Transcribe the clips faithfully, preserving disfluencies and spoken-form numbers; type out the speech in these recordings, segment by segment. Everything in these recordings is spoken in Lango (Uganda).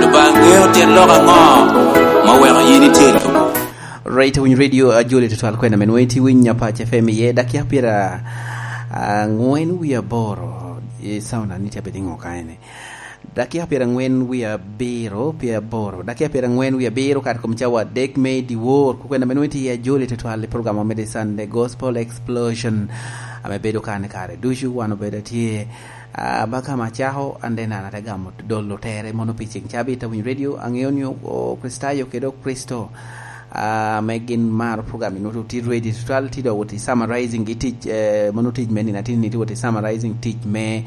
Lubanga ŋeo tyen lok aŋo ma weko yin itye i lobo? Right, winy radio, a, Joli tutwal kwena men wenti winy Apac F M iye, dakika pira, a, angwen wie aboro, e, sauna ni tye abed i ŋo ka ene? Dakika pira angwen wie abiro, pye aboro. Dakika pira angwen wie abiro, kare kom cawa adek me dyewor. Ku kwena men wenti iye, Joli tutwal i program omedde Sunday Gospel Explosion, ame bedo kan i kare ducu, wan obedo atye, a, ba ka ma acako, an de nana te gamo dolo tere mono pi ceng cabit, a winy radio, aŋeo ni o-, o Kricitayo kede o Kricito, a, ame gin maro program ni, nwoto tye ready tutwal, tye dok wot i summarizing gi tic, eh, mono tic me nino atini ni, tye wot i summarizing tic me,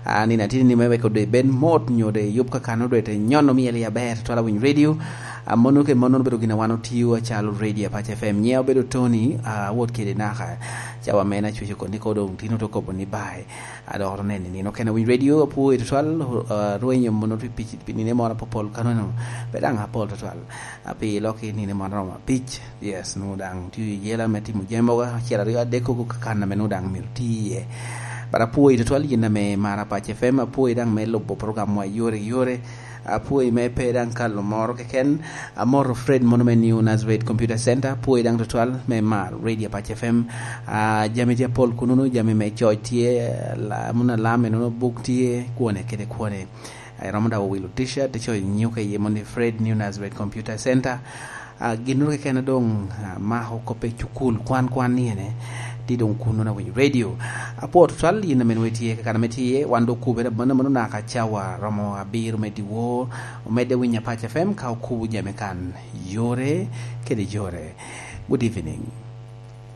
a, nino atini ni, me weko de bed mot nyo de yub kakano de te nyono myel i aber tutwal, a winy radio. A, mono ke mono bedo gin a wan otiyo acalo radio Apac F M. Nyiŋa obedo Tony, a, awot kede naka cawa me na cweco koni ko doŋ tino to kobo ni bye. A, dok oro nene nino kena winy radio, apwoyi tutwal, a, rwenyo mono pi, pi, pi nine moro apopol kanono, pe daŋ apol tutwal. A, pi lok i nine moro romo abic. Yes, nwoŋo daŋ tye i yela me timo jami mogo acel aryo adek koko kakan ame nwoŋo daŋ myero ti iye. But apwoyi tutwal yin ame mara Apac F M, apwoyi daŋ me lubo program wa yore yore. Apwoyi me pe daŋ kalo moro keken. Amoto Fred mono me New Nazareth Computer Center, apwoyi daŋ tutwal me mar Radio Apac F M. A, jami tye apol kunono, jami me coc tye, la-, mono alam enono, buk tye, kwone kede kwone. A, iromo daŋ owilo t-shirt, icoyo nyuka iye mono ni Fred New Nazareth Computer Center. A, ginnoro keken a doŋ, a, mako kop i cukul kwan kwan ni ene, tye doŋ kunono, a winy radio. Apwo tutwal yin ame nwoŋo itye kakan ame tye, wan doŋ okubere amannono naka cawa romo abiro me dyewor, omedde winy Apac F M ka okubo jami kan yore kede yore. Good evening.